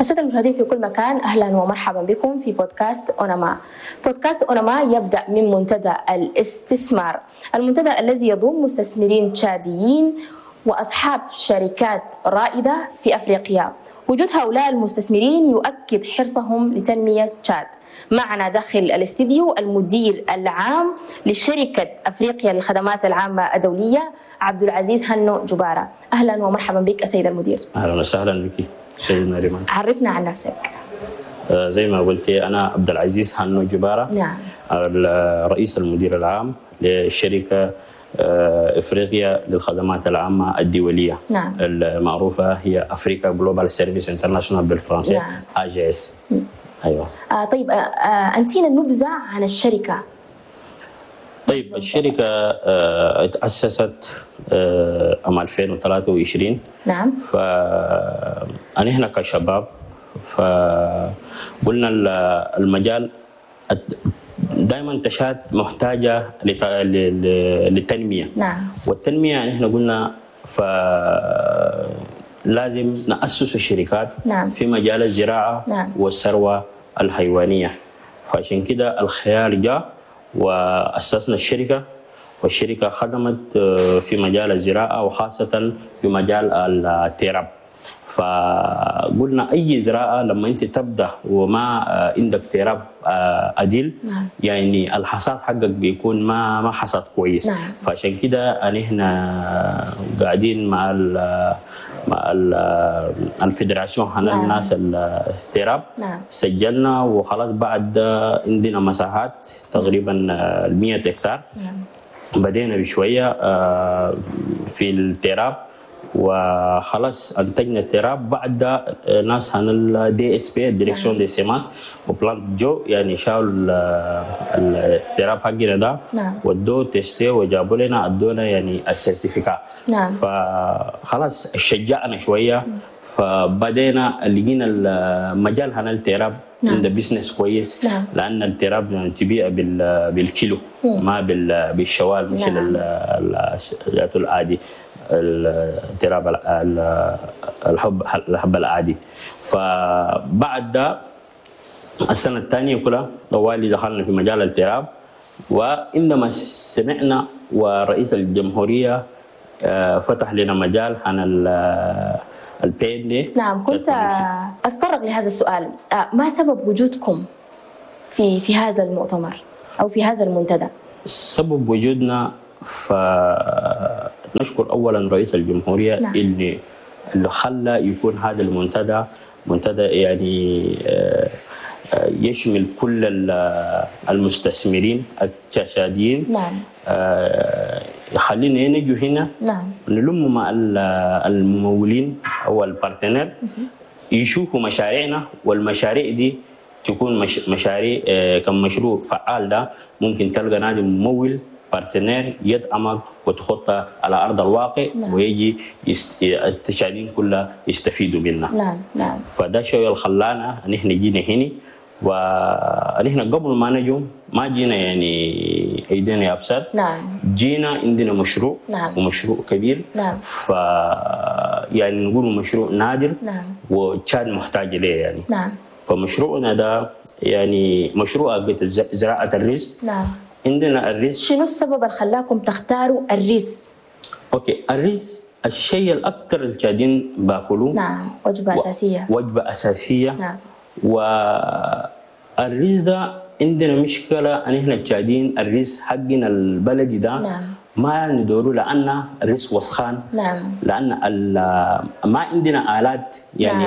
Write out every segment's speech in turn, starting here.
السادة المشاهدين في كل مكان، أهلا ومرحبا بكم في بودكاست أوناما. بودكاست أوناما يبدأ من منتدى الاستثمار، المنتدى الذي يضم مستثمرين تشاديين وأصحاب شركات رائدة في أفريقيا. وجود هؤلاء المستثمرين يؤكد حرصهم لتنمية تشاد. معنا داخل الاستديو المدير العام لشركة أفريقيا للخدمات العامة الدولية عبد العزيز هنو جبارة. أهلا ومرحبا بك السيد المدير. اهلا وسهلا بك سيدنا ريمان. عرفنا عن نفسك. زي ما قلتي، انا عبد العزيز هنو جبارة، الرئيس المدير العام للشركة افريقيا للخدمات العامة الدولية المعروفة هي Africa Global Service International بالفرنسي، AGS، ايوه. طيب، أنتينا نبذة عن الشركة. طيب، الشركة تاسست عام 2023. فأنا كشباب فقلنا المجال دائما تشاد محتاجة للتنمية. والتنمية نحن قلنا فلازم نأسس الشركات في مجال الزراعة والثروة الحيوانية، فعشان كده الخيار جاء وأسسنا الشركة، والشركة خدمت في مجال الزراعة وخاصة في مجال التراب. فقلنا أي زراعة لما أنت تبدأ وما عندك تراب عديل، يعني الحصاد حقك بيكون ما حصاد كويس. فعشان كده نحن قاعدين مع ال fédération هنا، الناس التراب. سجلنا وخلاص، بعد عندنا مساحات تقريبا 100 هكتار. بدينا بشوية في التراب وخلاص انتجنا التراب. بعد ده ناس هنا ال DSP، direction des semences et plantes، جو يعني شالوا التراب حقنا ده ودوه tester وجابوا لنا، ادونا يعني ال certificat. فخلاص شجعنا شويه، فبدينا لقينا المجال هنا التراب عنده business كويس، لان التراب يعني تبيع بالكيلو ما بالشوال مثل العادي، التراب الحب العادي. فبعد ده السنة الثانية كلها طوالي دخلنا في مجال التراب، وعندما سمعنا ورئيس الجمهورية فتح لنا مجال عن ال PND. نعم، كنت أتطرق لهذا السؤال، ما سبب وجودكم في هذا المؤتمر أو في هذا المنتدى؟ سبب وجودنا، فنشكر اولا رئيس الجمهورية اللي خلى يكون هذا المنتدى منتدى يعني يشمل كل المستثمرين التشاديين. خلينا نجوا هنا نلم مع الممولين او ال partenaires يشوفوا مشاريعنا، والمشاريع دي تكون مشاريع كم مشروع فعال، ده ممكن تلقى نادي ممول partenaire يدعمك وتخطى على ارض الواقع ويجي التشادين كلها يستفيدوا منها. نعم نعم فده شيء اللي خلانا ان احنا جينا هنا، ونحن قبل ما نجو ما جينا يعني ايدينا يابسات. جينا عندنا مشروع ومشروع كبير. ف يعني نقول مشروع نادر وتشاد محتاج اليه يعني. فمشروعنا ده يعني مشروع زراعة الرز. عندنا الرز. شنو السبب اللي خلاكم تختاروا الرز؟ okay، الرز الشيء الاكثر التشادين باكلوه. نعم، وجبة أساسية. وجبة اساسيه. والرز ده عندنا مشكلة ان احنا التشادين الرز حقنا البلدي ده ما ندورة لان الرز وسخان، لان ما عندنا الات يعني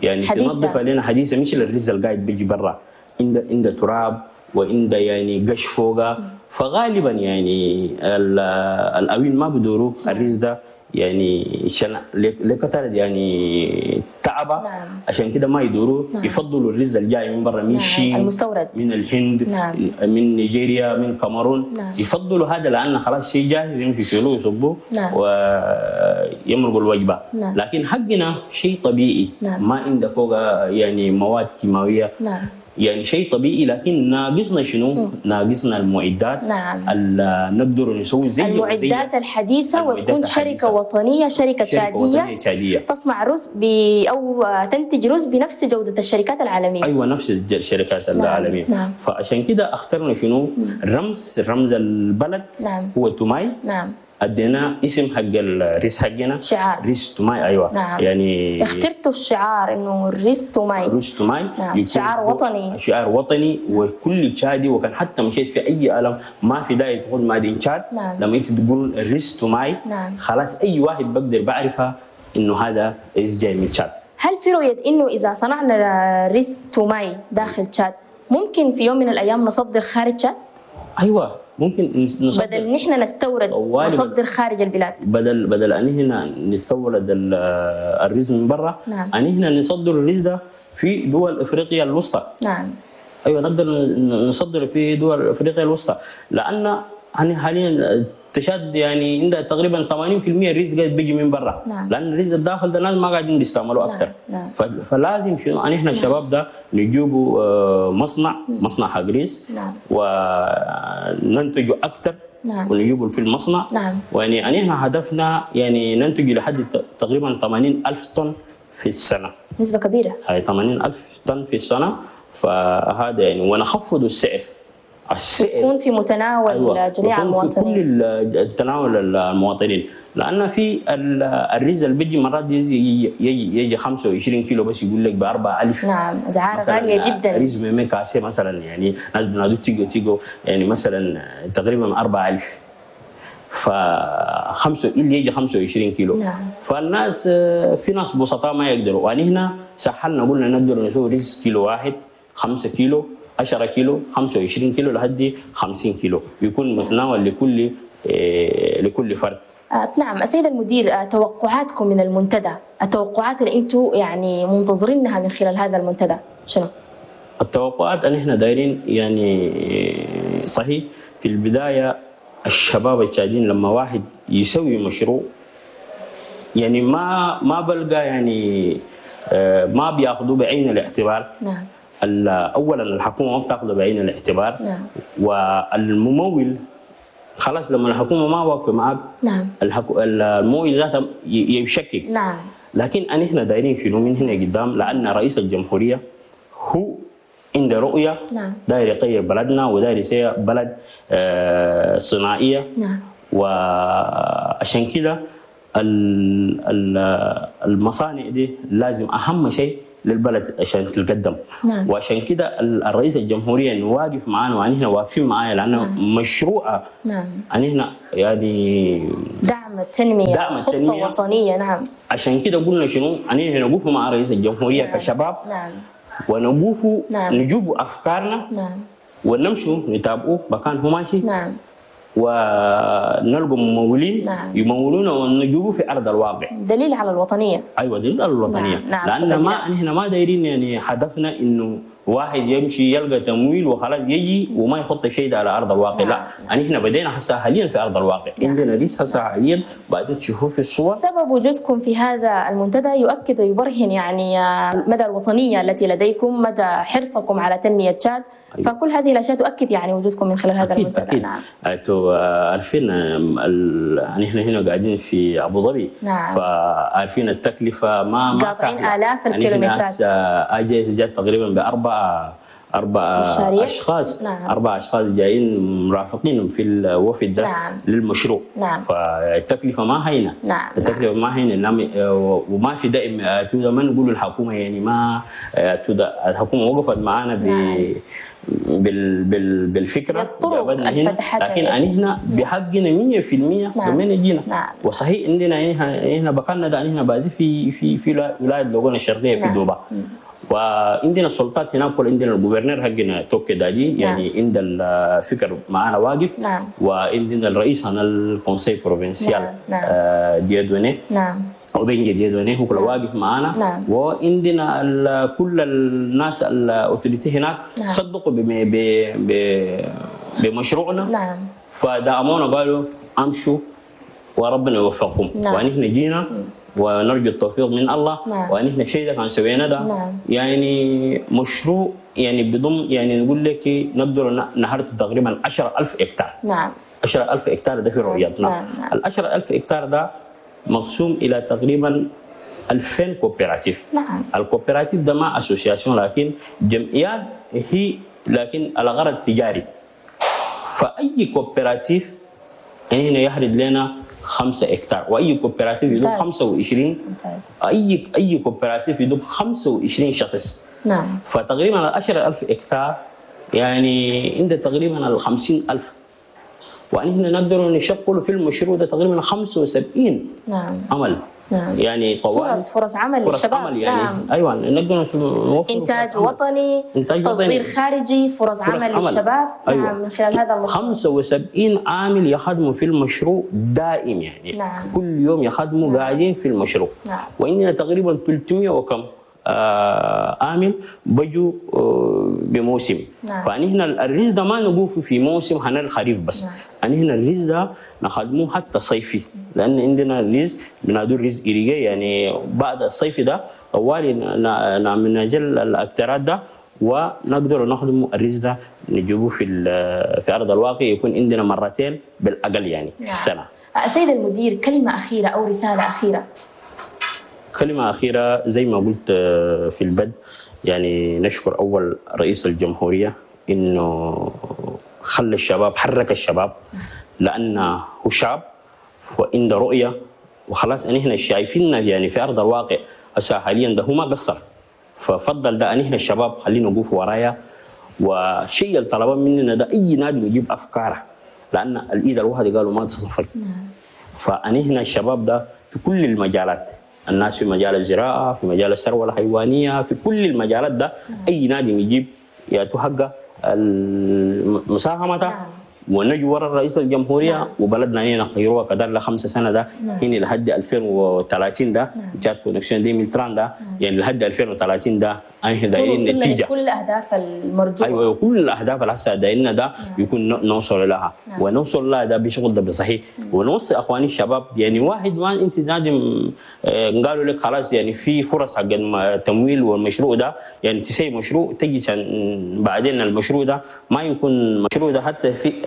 يعني حديثة. تنظف علينا، حديثه، مش الرز القاعد بيجي برا عنده تراب وعنده يعني قش فوقه، فغالبا يعني الاوين ما بدوروا الرز ده يعني عشان لكثرة يعني تعبه. عشان كده ما يدوروا. يفضلوا الرز الجاي من برا، من الصين، المستورد. من الهند، من نيجيريا، من كاميرون. يفضلوا هذا لان خلاص شيء جاهز، يمشي يشيلوه يصبوه ويمرقوا الوجبه. لكن حقنا شيء طبيعي، ما عنده فوق يعني مواد كيماويه. يعني شيء طبيعي، لكن ناقصنا شنو؟ ناقصنا المعدات. نعم. اللي نقدر نسوي زي المعدات الحديثة، وتكون شركة وطنية، شركة تشادية تصنع رز أو تنتج رز بنفس جودة الشركات العالمية. أيوة نفس الشركات. نعم. العالمية. نعم. فعشان كده اخترنا شنو؟ رمز البلد. نعم. هو توماي. نعم. ادينا اسم حق الريس حقنا، شعار ريس توماي. ايوه. نعم. يعني اخترتوا الشعار انه ريس توماي. ريس توماي. نعم. شعار وطني، شعار وطني وكل تشادي، وكان حتى مشيت في اي قلم ما في داعي تقول made in تشاد. نعم. لما انت تقول ريس توماي. نعم. خلاص اي واحد بقدر بعرفها انه هذا ريس جاي من تشاد. هل في رؤية انه اذا صنعنا ريس توماي داخل تشاد ممكن في يوم من الايام نصدر خارج تشاد؟ ايوه ممكن نصدر، بدل نحن نستورد نصدر خارج البلاد، بدل ان هنا نستورد الرز من برا. نعم. ان هنا نصدر الرز ده في دول افريقيا الوسطى. نعم. ايوه نقدر نصدر في دول افريقيا الوسطى، لان حاليا تشاد يعني عندها تقريبا 80% الرز قاعد بيجي من برا. نعم. لان الرز الداخل ده الناس ما قاعدين بيستعملوه اكثر. نعم. فلازم شنو ان احنا الشباب ده نجيبوا مصنع حق رز. نعم. وننتجه اكثر. نعم. ونجيبه في المصنع. نعم. ويعني ان احنا هدفنا يعني ننتج لحد تقريبا 80,000 طن في السنة. نسبه كبيرة. هاي 80,000 طن في السنة، فهذا يعني ونخفض السعر. السعر يكون في متناول. أيوة. جميع المواطنين، في كل تناول المواطنين، لان في الرز اللي بيجي مرات يجي 25 كيلو بس يقول لك ب 4000. نعم، اسعار غالية جدا. رز ميمي كاسه مثلا، يعني ناس بنادوا تيجو يعني مثلا تقريبا 4000، فخمسة اللي يجي 25 كيلو. نعم. فالناس في ناس بسطاء ما يقدروا، وأنا هنا سهلنا قلنا نقدر نسوي رز كيلو واحد 5 كيلو 10 كيلو 25 كيلو لحد 50 كيلو، يكون متناول لكل فرد. نعم. السيد المدير، توقعاتكم من المنتدى، التوقعات اللي انتم يعني منتظرينها من خلال هذا المنتدى شنو؟ التوقعات ان احنا دايرين يعني صحيح في البداية الشباب التشاديين لما واحد يسوي مشروع يعني ما بلقى يعني ما بياخذوه بعين الاعتبار. نعم. اولا الحكومة ما بتاخذه بعين الاعتبار. نعم. والممول خلاص لما الحكومة ما واقفة معك. نعم. الممول ذاته يشكك. نعم. لكن ان احنا دايرين شنو من هنا قدام، لان رئيس الجمهورية هو عنده رؤية. نعم. داير يغير بلدنا وداير يصير بلد صناعية. نعم. وعشان كده المصانع دي لازم اهم شيء للبلد عشان تتقدم. نعم. وعشان كده الرئيس الجمهورية انه واقف معانا، وأن احنا واقفين معاه لانه نعم. مشروع. نعم. أن احنا يعني دعم التنمية، دعم خطه التنمية وطنية. نعم. عشان كده قلنا شنو أن احنا نقف مع رئيس الجمهورية. نعم. كشباب. نعم. ونقوفوا. نعم. نجيبوا افكارنا. نعم. ونمشوا نتابعوه مكان هو ماشي. نعم. ونلقوا ممولين. نعم. يمولونا ونجيبوا في ارض الواقع. دليل على الوطنية. ايوه دليل على الوطنية. نعم. لان نعم. ما احنا ما دايرين يعني هدفنا انه واحد يمشي يلقى تمويل وخلاص يجي وما يحط شيء ده على ارض الواقع. نعم. لا، يعني احنا بدينا هسه حاليا في ارض الواقع. نعم. عندنا لسه هسه حاليا بعد تشوفوا في الصور. سبب وجودكم في هذا المنتدى يؤكد ويبرهن يعني مدى الوطنية التي لديكم، مدى حرصكم على تنمية تشاد. أيوة. فكل هذه الاشياء تؤكد يعني وجودكم من خلال هذا أكيد المنتدى. أكيد. نعم. انتوا عارفين نحن هنا قاعدين في ابو ظبي. نعم. فعارفين التكلفة ما قاطعين سهلة. آلاف يعني إحنا الكيلومترات. هسه اجهزة جات تقريبا باربع مشاريع. اشخاص. نعم. 4 اشخاص جايين مرافقين في الوفد ده. نعم. للمشروع. نعم. فالتكلفه ما هينة. نعم. التكلفة ما هينة. نعم. وما في دائم ما نقول الحكومة يعني ما الحكومة وقفت معانا نعم. بالفكرة بالطرق جابتنا هنا، الفتحتها لكن يعني. هنا بحقنا 100% نعم. لما جينا. نعم. وصحيح عندنا هنا بقالنا ده هنا بازي في في في ولاية لوغونا الشرقية في نعم. دوبا، وعندنا السلطات هناك، عندنا ال gouverneur حقنا توكي داجي. نعم. يعني عند الفكر معنا واقف. نعم. وعندنا الرئيس هنا ال conseil provincial. نعم. نعم. ديادوني. نعم. وبين ديادوني هو كله واقف معانا. نعم. وعندنا كل الناس ال autorités هناك. نعم. صدقوا بمشروعنا. نعم. فدعمونا قالوا امشوا وربنا يوفقكم. نعم. ونحن جينا ونرجو التوفيق من الله. نعم. ونحن الشيء ده كان سوينا ده. نعم. يعني مشروع يعني بضم يعني نقول لك نقدر نحرث تقريبا 10,000 هكتار. نعم. 10,000 هكتار ده في رؤيتنا. نعم. نعم. ال 10,000 هكتار ده مقسوم الى تقريبا 2000 coopératives. نعم. ال coopérative ده ما association لكن جمعيات هي، لكن على غرض تجاري. فاي coopérative يعني هنا يحرد لنا 5 هكتار، واي coopérative يدوب 25. ممتاز. اي coopérative يدوب 25 شخص. نعم. فتقريبا 10,000 هكتار يعني عند تقريبا 50,000، ونحن نقدر نشغل في المشروع ده تقريبا 75. نعم. عمل. نعم. يعني طوال فرص عمل فرص للشباب. عمل يعني. نعم. ايوه نقدر نوفر انتاج وطني، إنتاج تصدير وطني، خارجي، فرص عمل للشباب. أيوة. نعم، من خلال هذا المشروع 75 عامل يخدموا في المشروع دائم يعني. نعم. كل يوم يخدموا. نعم. قاعدين في المشروع. نعم. وعندنا تقريبا 300 وكم عامل بيجوا بموسم. نعم. فنحن الرز ده ما نقوف في موسم هنا الخريف بس. نعم. نحن الرز ده نخدموه حتى صيفي، لان عندنا الرز بنادو الرز irrigué، يعني بعد الصيف ده طوالي نجل الاكترات ده ونقدر نخدم الرز ده نجيبه في ارض الواقع، يكون عندنا مرتين بالاقل يعني. نعم. في السنة. سيد المدير، كلمة اخيرة او رسالة اخيرة. كلمة أخيرة زي ما قلت في البدء، يعني نشكر أول رئيس الجمهورية إنه خلى الشباب، حرك الشباب، لأنه هو شاب وعنده رؤية وخلاص. نحن شايفيننا يعني في أرض الواقع هسه حاليا ده هو ما قصر، ففضل ده نحن الشباب خلينا نقف ورايا. وشيء اللي طلبه مننا ده أي نادي يجيب أفكاره، لأن الإيد الواحدة قالوا ما تصفق. فنحن الشباب ده في كل المجالات، الناس في مجال الزراعة، في مجال الثروة الحيوانية، في كل المجالات ده أي نادي يجيب ياتو حقه المساهمة. ونجي ورا رئيس الجمهورية. وبلدنا هنا خيروها كدار ل 5 سنة ده. هنا لحد 2030 ده. Tchad Connexion 2030 ده. يعني لحد 2030 ده احنا دايرين نتيجة كل الاهداف المرجوة. ايوه كل الاهداف اللي هسه دايرينها ده. يكون نوصل لها. ونوصل لها ده بشغل ده بصحيح. ونوصي اخواني الشباب يعني واحد ما انت نادم قالوا لك خلاص يعني في فرص حق التمويل والمشروع ده، يعني تسوي مشروع تجي بعدين المشروع ده ما يكون مشروع ده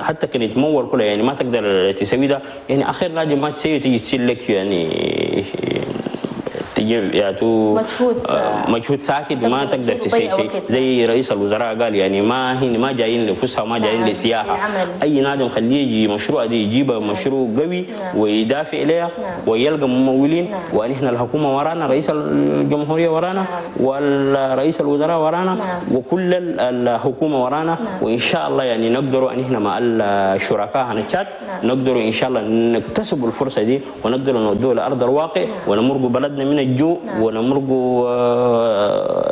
حتى كان يتمول كله يعني ما تقدر تسوي ده، يعني اخير لازم ما تسوي تيجي تشيل لك يعني تجيب يعني مجهود ساكت ما تقدر تسوي شيء. زي رئيس الوزراء قال يعني ما هن ما جايين لفسحه وما جايين لسياحه. اي نادم خليه يجي مشروع دي يجيبه. مشروع قوي. ويدافع اليها. ويلقى ممولين. ونحن الحكومة ورانا، رئيس الجمهورية ورانا. والرئيس الوزراء ورانا. وكل الحكومة ورانا. وان شاء الله يعني نقدروا ان احنا مع الشركاء هنشات. نقدروا ان شاء الله نكتسب الفرصة دي ونقدر نودوها لارض الواقع. ونمرق بلدنا من الجوع. ونمرق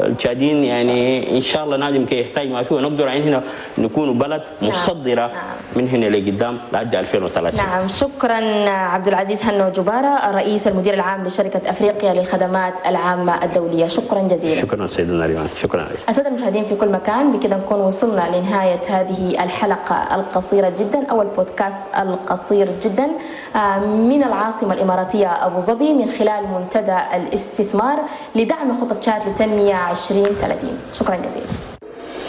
التشادين يعني ان شاء الله نادم كي يحتاج ما فيه، ونقدر عين هنا نكون بلد مصدره. من هنا لقدام لحد 2030. نعم، شكرا عبد العزيز هنو جبارة، الرئيس المدير العام لشركة افريقيا للخدمات العامة الدولية، شكرا جزيلا. شكرا سيدنا ريمان، شكرا عليك. السادة المشاهدين في كل مكان، بكذا نكون وصلنا لنهاية هذه الحلقة القصيرة جدا او البودكاست القصير جدا من العاصمة الاماراتية ابو ظبي من خلال منتدى الاستثمار لدعم خطة تشاد للتنمية 2030. شكرا جزيلا.